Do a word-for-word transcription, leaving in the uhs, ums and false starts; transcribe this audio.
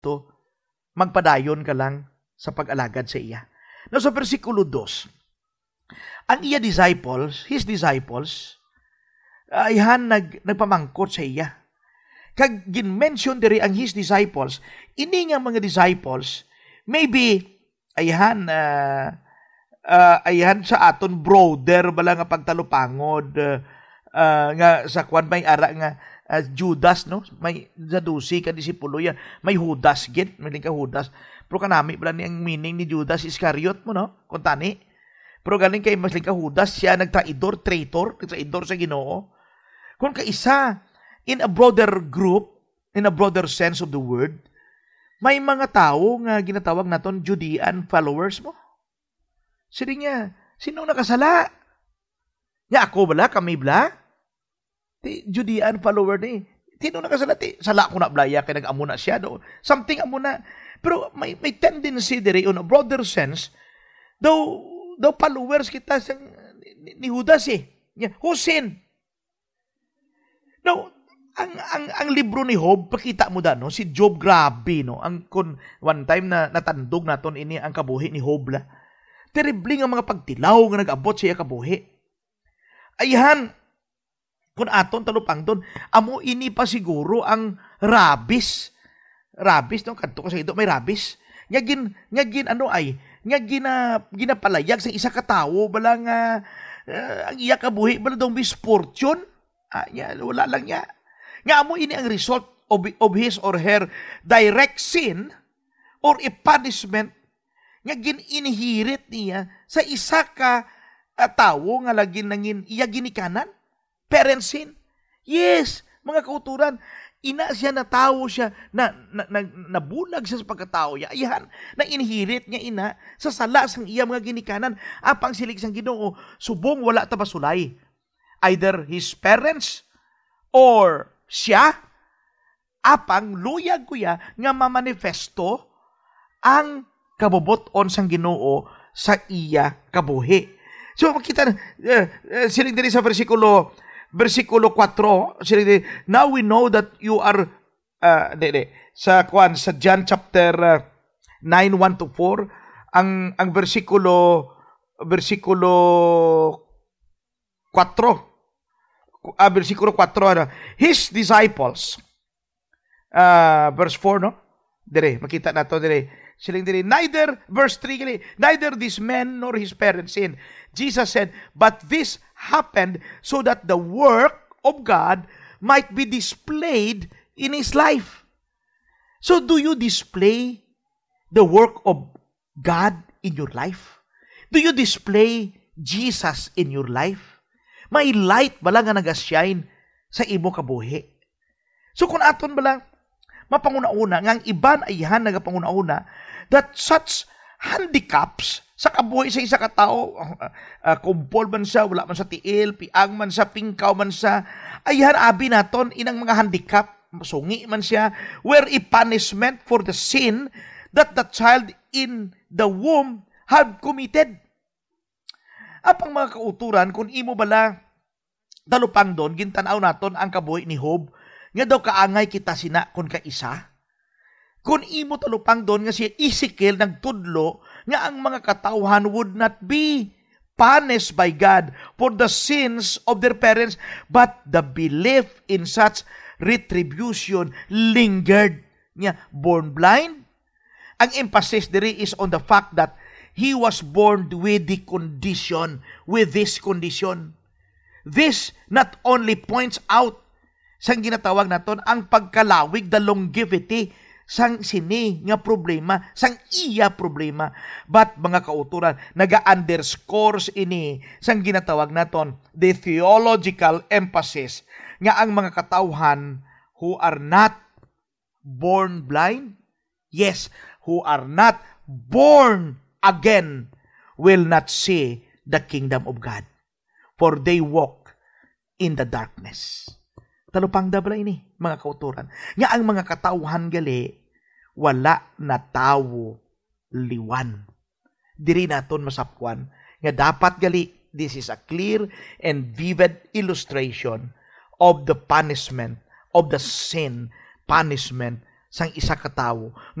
Kristo, magpadayon ka lang sa pag-alagad sa iya. Now, sa bersikulo dos, ang iya disciples, his disciples, ayhan nag-, nagpamangkot sa iya. Kag gin-mention diri ang his disciples. Ini nga mga disciples, maybe, ayhan, ah, ah, ayhan sa aton broader bala nga pagtalupangod, ah, ah, nga sa kwan may ara nga, ah, Judas, no? May sa dose ka disipulo yan. May Judas gid, may ka Judas. Pero kanami bala ni ang meaning ni Judas Iscariot mo, no? Kung tani. Pero galing kay mas ka Judas, siya nagtraidor, traitor, nagtraidor sa Ginoo. Kung kaisa, in a broader group, in a broader sense of the word, may mga tawo nga ginatawag naton Judean followers mo. Sino niya? Sino nakasala? Nya ako bala? Kami bala? Ti Judean follower ni. Sino nakasala? Ti sala ko na bala iya kay nag-amo na siya do. Something amo na. Pero may, may tendency diri on a broader sense, daw, daw followers kita sang ni, ni Judas eh. Nya, who sin? Now, ang, ang, ang libro ni Job, pakita mo da, no? Si Job, grabe, no? Ang, kun one time na natandog naton ini ang kabuhi ni Job, la. Terrible nga mga pagtilaw nga nag-abot sa iya kabuhi. Ayhan, kun aton talupangton, amo ini pa siguro ang rabies. Rabies, no? Kadto ka sa ido, may rabies. Nga gin-, nga gin-, ano ay, nga gina-, ginapalayag sa isa ka tawo, bala nga, ah, ang iya kabuhi, bala daw misfortune. Ah, nya, wala lang niya. Nga amo ini ang result of, of his or her direct sin or a punishment nga gin-inherit niya sa isa ka, ah, tawo nga lagi nangin iya ginikanan, parent sin. Yes, mga kauturan, ina siya, natawo siya, na, na, na, nabulag siya sa pagkatawo niya. Ayhan, na-inherit niya ina sa sala sang iya mga ginikanan. Apang siling sang Ginoo, subong wala ta masulay, either his parents or siya, apang luyag ko ya nga mamanifesto ang kabubot-on sang Ginoo sa iya kabuhi. So, makita na, eh, eh, siling diri sa bersikulo, bersikulo kuwatro, siling diri, "Now we know that you are," ah, di, di, sa kuwan, sa John chapter, ah, nine, one to four, ang, ang bersikulo, bersikulo kuwatro, ah, bersikulo kuwatro, ano, his disciples, ah, verse four, no? Dire, makita nato dire. Siling dire, neither, verse three gali, "Neither this man nor his parents sin." Jesus said, "But this happened so that the work of God might be displayed in his life." So, do you display the work of God in your life? Do you display Jesus in your life? May light bala nga nagashine sa imo kabuhi? So, kung aton bala mapanguna-una nga ang iban ayhan nagapanguna-una that such handicaps sa kabuhi sa isa ka tawo, ah, ah, kumpol man siya, wala man sa tiil, piang man siya, pingkaw man siya, ayhan abi naton inang mga handicap, sungi man siya, were a punishment for the sin that the child in the womb had committed. Apang mga kauturan, kung imo bala talupangdon, gintan-aw naton ang kabuhi ni Job, nga daw kaangay kita sina kon kaisa. Kung imo talupangdon nga si Ezekiel nagtudlo nga ang mga katawhan would not be punished by God for the sins of their parents, but the belief in such retribution lingered. Nya, born blind, ang emphasis diri is on the fact that he was born with the condition, with this condition. This not only points out sang ginatawag naton ang pagkalawig, the longevity sang sini nga problema, sang iya problema, but, mga kauturan, naga-underscores ini sang ginatawag naton the theological emphasis nga ang mga katawhan who are not born blind, yes, who are not born again, will not see the kingdom of God, for they walk in the darkness. Talupangda bala ini, mga kauturan, nga ang mga katawhan gali wala natawo liwan. Diri naton masapwan nga dapat gali, this is a clear and vivid illustration of the punishment, of the sin punishment sang isa ka tawo.